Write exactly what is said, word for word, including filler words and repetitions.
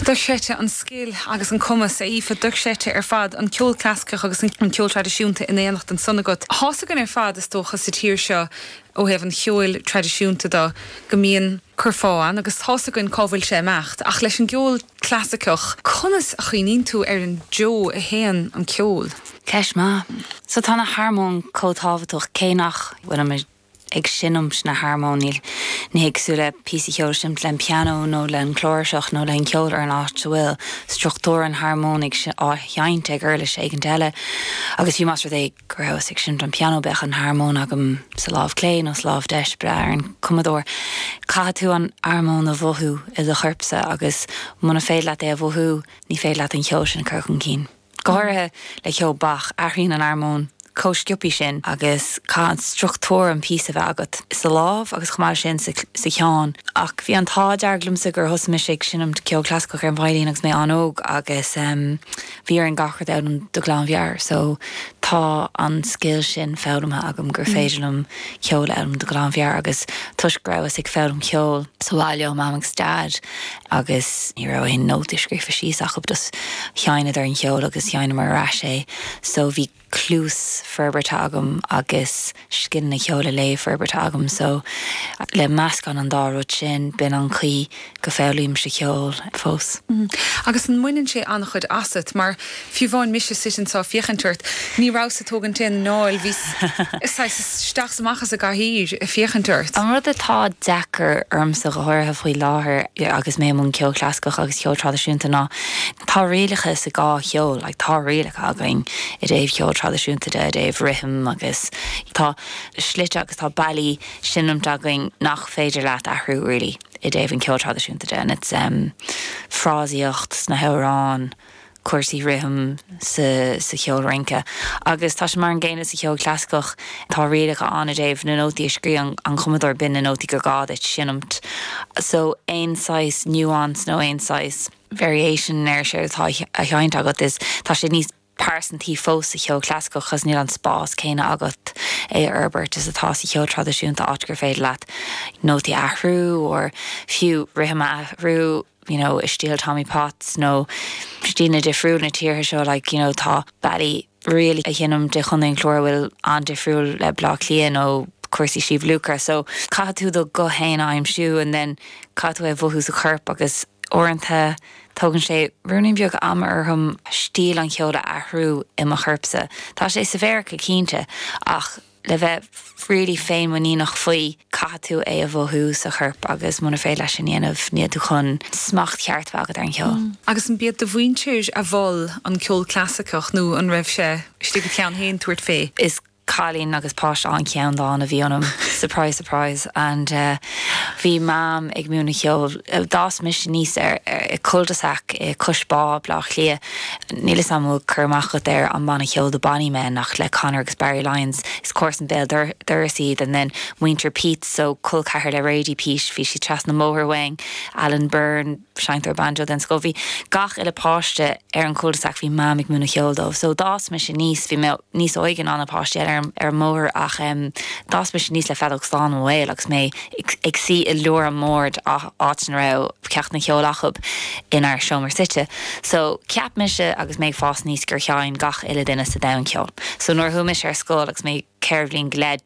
Dochreidte an scil agus an cumas a Aoife dochreidte ar fad an ceol clasaiceach agus an ceol traidisiúnta in éineacht ansan agat. Tá a fhios againn ar fad is dócha sa tír seo ó thaobh an cheoil traidisiúnta de go mbíonn curfá ann agus tá a fhios againn cá bhfuil sé imeacht ach leis an gceol clasaiceach conas a chuimhníonn tú ar an dtreo a théann an ceol. Ceist maith. So tá na harmóin chomh tábhachtach cé nach bhfuil ag seinm na harmóin ní hé cosúil le píosa ceoil seinnte le pianó nó le an cláirseach nó le an ceol ar an áit a bhfuil struchtúr an harmóin á sheinnt ag uirlis éigin eile. agus fiú más rud é go rabhas ag seinnt an pianó bheadh an harmóin agam sa lámh clé nó sa lámh deis bre ar an cumadóir. Caithfidh tú an armóin a mhothú i do chorpsa agus muna féidir leat é a mhothú ní féidir leat an ceol sin chur chun cinn. Go háirithe le ceol Bach athraíonn an armóin chomh sciobtha sin agus caithfidh an struchtúr an píosa bheith agat sa lámh agus chomh maith sin sa cheann. Ach bhí an t-ádh dearg liomsa gur thosaigh mise ag seinm ceol clasaiceach ar an veidhlín agus mé an-óg agus um, bhí ar an gach rud ann de ghlanmheabhair, so tá an scil sin foghlamtha agam gur mm. féidir liom ceol a fhoghlaim de ghlanmheabhair agus toisc go rabhas ag foghlaim ceol sa bhaile ó mam agus dad agus ní raibh aon nótaí scríofa síos acu dus sheinneadar an ceol agus sheinneamar ar ais é, so bhí cluas forbartha agam agus scileanna ceoil a léamh forbartha agam so le meascán an dá rud sin b'in an chaoi go bhfoghlaimímse ceol fós. Mm. Agus an mbaineann sé an-chuid asat mar fiú amháin mise sin ag féachaint ort ní rabhas ag tógaint aon anáil bhí isteach amach as an gcathaoir ag féachaint ort. An rud atá deacair ormsa go háirithe faoi láthair agus mé mun ceol clasaiceach agus ceol traidisiúnta ná tá rialacha sa dá cheol, like, tá rialacha againn i dtaobh ceol traidisiúnta de dtaobh rithim agus tá slite agus tá bealaí seinnte againn nach féidir leat athrú really i dtaobh an ceol traidisiúnta de and it's um, frásaíocht sna hamhráin cúrsaí rithim sa, sa cheol rince. Agus tá sé mar an gcéanna sa cheol clasaiceach tá rialacha ann i dtaobh na nótaí a scríobh an cumadóir b'in na nótaí gur gá duit seinmt. So aon saghas nuance nó aon saghas variation ar sé atá a sheinnt agat is tá sé níos pearsantaí fós sa cheol clasaiceach cos níl an spás céanna agat é a fhorbairt is atá sa cheol traidisiúnta áit gur féidir leat nótaí athrú or fiú rithim athrú you know, i stíl Tommy Potts nó stíl na difriúil na tíortha seo like, you know, tá bealaí really a sheinm de chun an chlár bhfuil an-difriúil le Bleá Cliath nó cúrsaí Sliabh Luachra, so caithfidh tú do ghuth féin a aimsiú and then caithfidh tú é mhothú sa chorp agus uaireanta tógann sé ruainnín beag ama orm stíl an cheoil a athrú i mo chorpsa. Tá sé sa bhéarcha cinnte ach le bheith really féinmhuiníneach faoi caithfidh tú é a mhothú sa chorp agus muna féidir leis sin dhéanamh níl tú chun smacht ceart agat ar an cheol. Mm. Agus an b'iad do mhuintir a mhol an ceol clasaiceach nó an raibh sé istigh i do cheann féin tabhairt fé. Is cailín agus páiste an-cheanndána a bhí ionam surprise surprise and uh, bhí mam ag múineadh ceol d'fhás mise aníos ar, ar i cul-de-sac i Cois Bá Bleá Cliath níl a fhios agam cur amach ar an mbanna ceoil The Bonny Men nach le Conor agus Barry Lyons is comharsan béal dorais iad and then muintir Peat so col ceathar le Radie Peat bhí sí trasna an bhóthair uainn Alan Byrne seinnteoir banjo den scoth bhí gach uile páiste ar an cul-de-sac bhí mam ag múineadh ceoil dóibh so d'fhás mise aníos bhí mé níos óige ná na páistí ar ar an mbóthar ach um, d'fhás mise aníos le feadóg stáin i mo bhéal agus mé ag suí i lár an bhoird áit a raibh ceacht na ceoil acu inár seomra suite. So ceap mise agus mé fás aníos gur sheinn gach uile duine sa domhan ceol. So nuair a chuaigh mise ar scoil agus mé ceithre bliana go leith